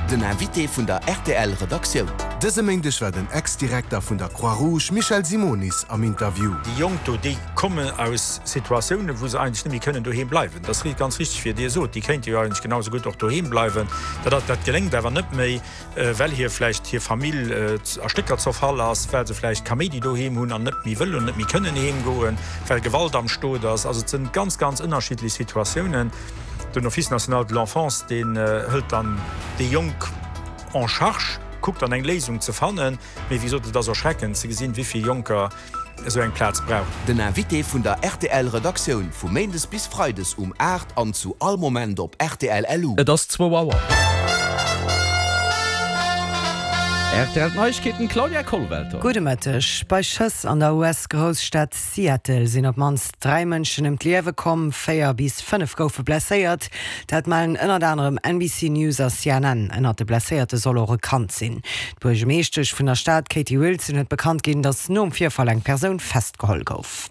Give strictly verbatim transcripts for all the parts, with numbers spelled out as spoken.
Den Invité vun der R T L Redaktioun. Dëse Méindeg war den Ex-Direkter vun der Croix-Rouge Michel Simonis am Interview. Déi Jonk do, déi kommen aus Situatiounen, wou se eigentlech net méi kënnen doheem bleiwen. Dat ass ganz richteg, wéi Dir sot, déi kéinte jo eigentlech genau sou gutt och doheem bleiwen. Dat dat geléngt awer net méi, well hir vläicht hir Famill a Stécker zerfall ass, well se vläicht Kaméidi doheem hunn an net méi wëllen, net méi kënnen heem goen, well Gewalt am Stot ass. Also et sinn ganz ganz ënnerschiddlech Situatiounen. Den Office national de l'enfance, deen hëlt dann déi Jonk en charge, kuckt dann eng Léisung ze fannen, mee wéi gesot, et ass erschreckend ze gesinn, wéi vill Jonker esou eng Plaz brauchen. Den Invité vun der R T L Redaktioun vu Méindes bis Freides um aacht an zu all Moment op R T L L U. Et ass zwou Auer. R T L Neiegkeeten, Claudia Kollwelter. Gudde Mëtteg. Bei Schëss an der U S-Grousstad Seattle sinn op d'mannst dräi Mënschen ëm d'Liewe komm, véier bis fënnef goufe blesséiert. Dat mellen ënnert anerem N B C News a C N N. Ënnert de Blesséierte soll och e Kand sinn. D'Buergermeeschtesch vun der Stad Katie Wilson huet bekannt ginn, datt nom Virfall eng Persoun festgeholl gouf.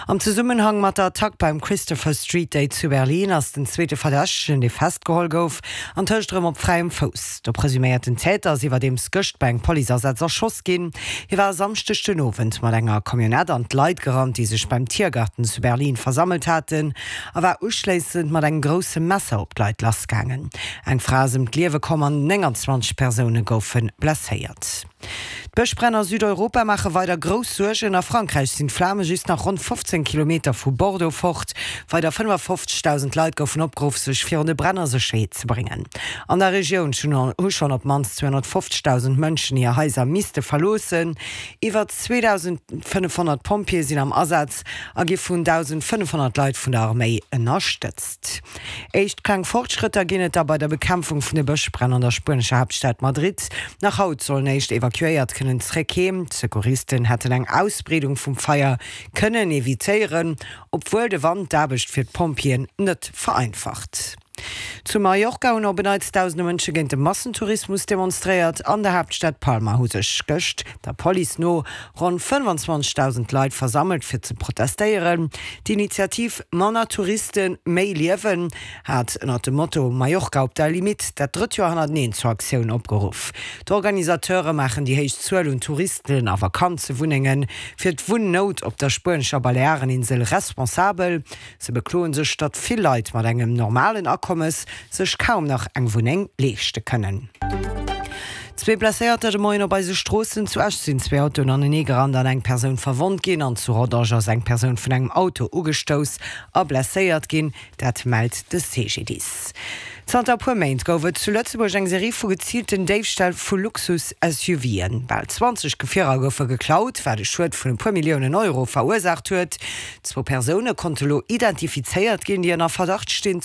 Am Zesummenhang mat der Attack beim Christopher Street Day zu Berlin ass den zweete Verdächtegen, dee festgeholl gouf, antëscht erëm op fräiem Fouss. De presuméierten Täter ass iwwerdeems gëscht bei engem Policeasaz erschoss ginn. Hie war e Samschdeg den Owend mat enger Camionnette an d'Leit gerannt, déi sech beim Tiergarten zu Berlin versammelt haten, a war uschléissend mat engem grousse Messer op d'Leit lassgaangen. Eng Fra ass ëm d'Liewe komm an nénganzwanzeg Persoune goufe blesséiert. D'Bëschbränn a Südeuropa maache weider grouss Suergen. A Frankräich sinn d'Flame just nach ronn fofzéng Kilometer vu Bordeaux fort. Weider fënnefafofzegdausend Leit goufen opgeruff, sech virun de Bränn a Sécherheet ze bréngen. An der Regioun hu schonn op d'mannst zweehonnertfofzegdausend Mënschen hir Haiser misste verloossen. Iwwer zweedausendfënnefhonnert Pompjeeë sinn am Asaz a gi vun dausendfënnefhonnert Leit vun der Arméi ënnerstëtzt. Éischt kleng Fortschrëtter ginn et da bei der Bekämpfung vun de Bëschbränn an der spuenescher Haaptstad Madrid. Nach haut sollen éischt Evakuéiert kënnen zréck heem. D'Secouristen hätten eng Ausbreedung vum Feier kënnen evitéieren, obwuel de Wand d'Aarbecht fir d'Pompjeeën net vereinfacht. Zu Mallorca hunn op en Neits dausende Mënsche géint de Massentourismus demonstréiert. An der Haaptstad Palma hu sech gëscht, der Police no, ronn fënnfanzwanzegdausend Leit versammelt fir ze protestéieren. D'Initiativ Manner Touristen, méi Liewen hat ënnert dem Motto Mallorca op der Limitt dat drëtt Joer hannerteneen zur Aktioun opgeruff. D'Organisateure maachen déi héich Zuel un Touristen a Vakanzewunnenge fir d'Wunnout op der spuenescher Baleareninsel responsabel. Se bekloen sech, datt vill Leit mat engem normalen Akommes sech kaum nach eng Wunneng leeschte kënnen. Zwee Blesséierter de Moien op eise Stroossen. Zu Esch sinn zwee Autoen anenee gerannt an eng Persoun verwonnt ginn an zu Rodange ass eng Persoun vun engem Auto ugestouss a blesséiert ginn, dat mellt de C G D I S. Zanter e puer Méint gouf et zu Lëtzebuerg eng Serie vu geziilten Déifställ vu Luxus-S U Ven. Bal zwanzeg Gefierer goufe geklaut, wat e Schued vun e puer Milliounen Euro verursaacht huet. Zwou Persoune konnte lo identifizéiert ginn, déi ënner Verdacht stinn.